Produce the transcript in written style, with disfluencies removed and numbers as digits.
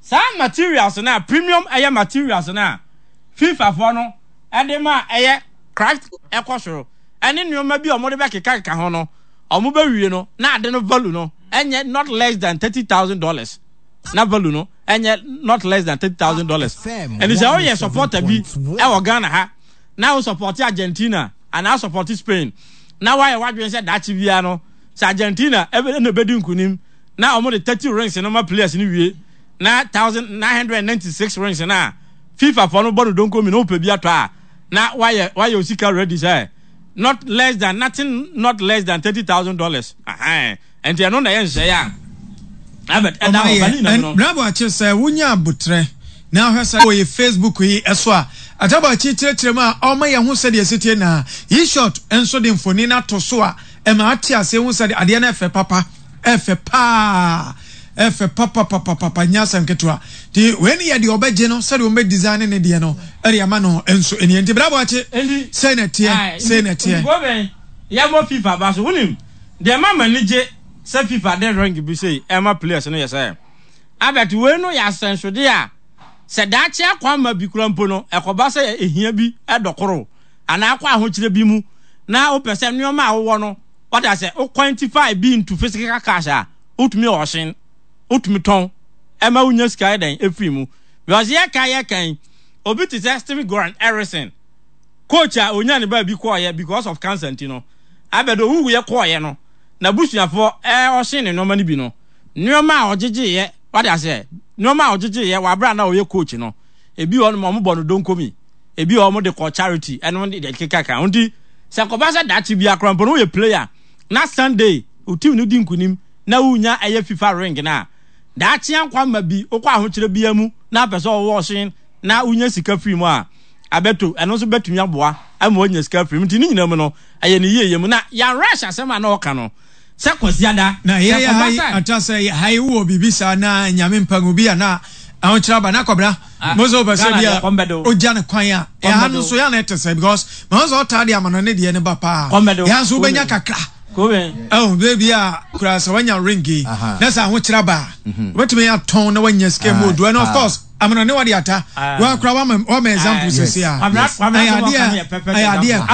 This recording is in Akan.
Saa materials no a premium ɛyɛ materials no a FIFA foɔ no ɛde ma ɛyɛ craft ɛkɔ soro ɛne nneɛma bi a wɔde bɛkekakeka ho no wɔn bɛwie no na ade no value no ɛnyɛ not less than $30,000 na value no ɛnyɛ not less than $30,000. Ɛni sɛ ɔyɛ supporter bi ɛwɔ Ghana ha na wo support Argentina anaa support Spain na wayɛ wadwene sɛ daakye biara no sɛ Argentina ɛna ɛbɛdi nkunim na wɔn de 30 rings no ma players no wie na 1996 rings no a FIFA fɔ no bɔ no donko mi na wopɛ bi atɔ a na wayɛ wayɛ osika ready sɛ not less than nothing not less than $30,000. Nti ɛno na ɛyɛ nhyehyɛeɛ a Albert ɛda hɔ ba ne nyinaa mu no. Bravo Akye sɛ wonya abotrɛ na ahwɛ sɛ wɔ yɛ Facebook yi so a Atabo Akye kyerɛkyerɛ mu a ɔma yɛn ho sɛdeɛ ɛsi teɛ na yi short nso de mfoni no ato so a ɛma ate aseɛ hu sɛdeɛ adeɛ no ɛfɛ papa ɛfɛ paa ɛfɛ papapapapa nyɛ asɛm ketewa nti wei ne yɛ deɛ ɔbɛgye no sɛdeɛ wɔn bɛ design ne deɛ no ɛde ama no nso ɛnie nti Bravo Akye sei na ɛteɛ sei na ɛteɛ. Nti kɔbɛn yɛmmɔ FIFA ba so wonim Deɛ ɛma m'ani gye sɛ FIFA de ring bi sei rema players no yɛ sɛ, Albert, wei no yɛ asɛnsodeɛ a sɛ daakye akwamma bi koraa mpo no, ɛkɔba sɛ ɛhia bi dɔ koro anaa akɔ ahokyerɛ bi mu na wopɛ sɛ nneɛma a wowɔ no, wate aseɛ, wo quantify bi into physical cash a, wotumi auction, wotumi tɔn, ɛma wonya sika yɛ dɛn ɛfiri mu. Because yɛka yɛka yi, obi te sɛ Steve Goran Eriksson, coach a ɔnya ne baabi kɔɔyɛ because of cancer nti no, Abed owuiɛ kɔeɛ no, n'abusuafoɔ ɛɛ ɔhyee ne nnoɔma no bi no, nnoɔma a ɔgyegyeeɛ, wate aseɛ, nnoɔma a ɔgyegyeeɛ wɔ aberɛ a na ɔyɛ coach no, ebi wɔ hɔ nom a wɔbɔ no donkomi, ebi wɔ hɔ wɔde kɔ charity, ɛno ne deɛ ɛkeka ho. Nti sɛ kɔba sɛ daakye biara koraa mpo no woyɛ player na Sunday wo team no di nkunim na wonya ɛyɛ FIFA ring no a, daakye ankwamma bi wokɔ ahokyerɛ biara mu na apɛ sɛ ɔwɔ ɔhyen na wonya sika firi mu a, abɛto, ɛno nso bɛtumi aboa ama wanya sika afiri mu. Nti ne nyinaa mu no, ɛyɛ ne yieyɛ mu. Na Yan Rush asɛm a na ɔka no, sɛ Kwasiada, Na sɛ yɛyɛ ha kɔba yi, sɛ. ata sɛ ha yi wowɔ biribi saa na Nyame mpa ngu bi a na ahokyerɛ aba. Na Kwabena, Ah, mo nso wopɛ sɛ Ghana bi deɛ a kɔm bɛde wo. ogya no kwan a, Kɔm ɛha bɛde no wo. nso yɛ a na ɛte sɛ because mahu sɛ ɔtaa de amanɔne deɛ no ba paa. Kɔm bɛde wo. Yɛn nso wobɛnya Kobe. kakra. Kobe. Ɛho baabi a kura sɛ wanya ring yi Aha. na sɛ ahokyerɛ aba a, wobɛtumi atɔn na wanya sika mu Ah, odu. And of ah. course, Amanɔne wade ata. Ah. Wa kura wama wama example Ah, sɛsi a. Kwabena, Yes. Kwabena Ɛyɛ sɛ adeɛ wɔka no yɛ perfect ɛyɛ adeɛ example. ɛkɔ.